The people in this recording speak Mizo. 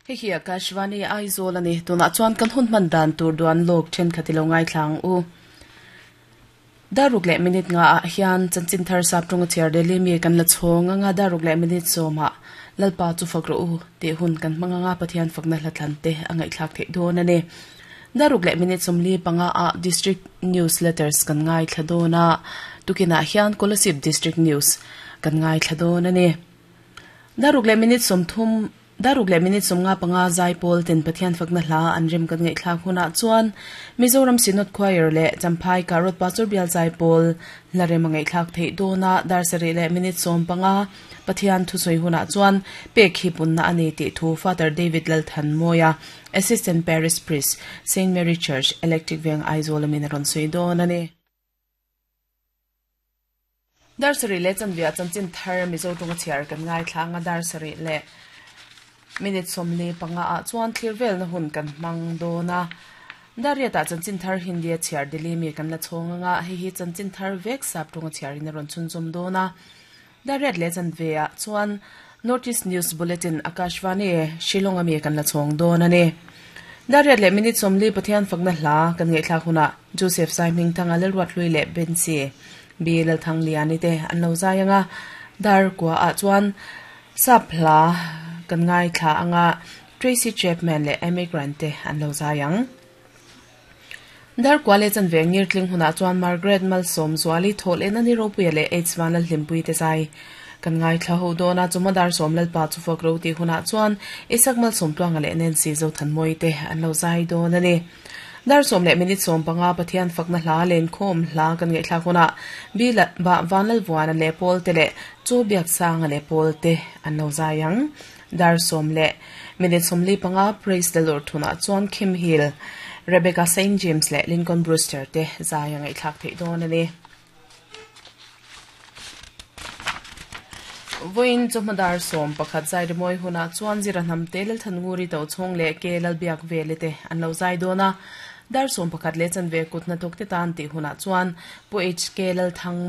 Hei hi Akashvani Aizawl a ni. Tunah chuan kan hun hman dan tur duan lawk thenkhat i lo ngaithla ang u. Daruk leh minute nga ah hian chanchin thar sap tawnga chhiar Delhi mi kan la chhawng anga daruk leh minute sawmah Lalpa chu fak rawh u tih hun kan hmang anga Pathian fakna hla thlan te a ngaihthlak theih dawn a ni. Daruk leh minute 45 ah District News Letters kan ngaithla dawn a, tukinah hian Kolasib District News kan ngaithla dawn a ni. Daruk leh minute 30 Daruk leh minute 55 Zaipawl ten Pathian fakna hla an rem kan ngaihthlak hunah chuan Mizoram Synod Choir leh Champhai Karot Pastor Bial Zaipawl hla rem a ngaihthlak theih dawn a, dar sarih leh minute 15 Pathian thusawi hunah chuan pek hi punna a ni tih thu Father David Lalthanmawia, Assistant Parish Priest, Saint Mary Church, Electric Veng, Aizawl amin a rawn sawi dawn a ni. Dar sarih leh chanve chanchin thar Mizo tawnga chhiar kan ngaithla anga dar sarih leh minute 45 ah chuan thlir velna hun kan hmang dawn a. Dar riatah chanchin thar Hindi a chhiar Delhi mi kan la chhawng anga hei hi chanchin thar vek sap tawnga chhiarin a rawn chhunzawm dawn a. Dar riat leh chanve ah chuan North East News Bulletin Akashvani Shillong ami kan la chhawng dawn a ni. Dar riat leh minute 40 Pathian fakna hla kan ngaihthlak hunah Joseph Saihmingthanga Lalruathlui leh Bensi B Lalthangliani te an lo zai anga dar kua ah chuan sap hla kan ngaithla anga Tracy Chapman leh Amy Grant te an lo zai ang. Dar kua leh chanve ngir tling hunah chuan Margaret Malsawm Zuali thawl en ani Ropuia leh H Vanlalhlimpui te zai kan ngaithla ho dawn a, chuma dar sawm Lalpa chu fak ro tih hunah chuan Isak Malsawm Tluanga leh Nancy Zothanmawii te an lo zai dawn a ni. Dar sawm leh minute 15 Pathian fakna hla lenkhawm hla kan ngaihthlak hunah Bi Vanlalvuana leh Pawl te leh Chu Biaksanga leh Pawl te an lo zai ang. Dar sawm leh minute 45 Praise the Lord hunah chuan Kim Hill, Rebecca Saint James leh Lincoln Brewster te zai a ngaihthlak theih dawn a ni. Vawiin chawhma dar 11 zai rimawi hunah chuan Zira hnam te Lalthannguri Tochhawng leh Ke Lalbiak Vele te an lo zai dawn a. Dar 11 leh chanve kut hnathawk te tan tih hunah chuan Pu HK Lalthang.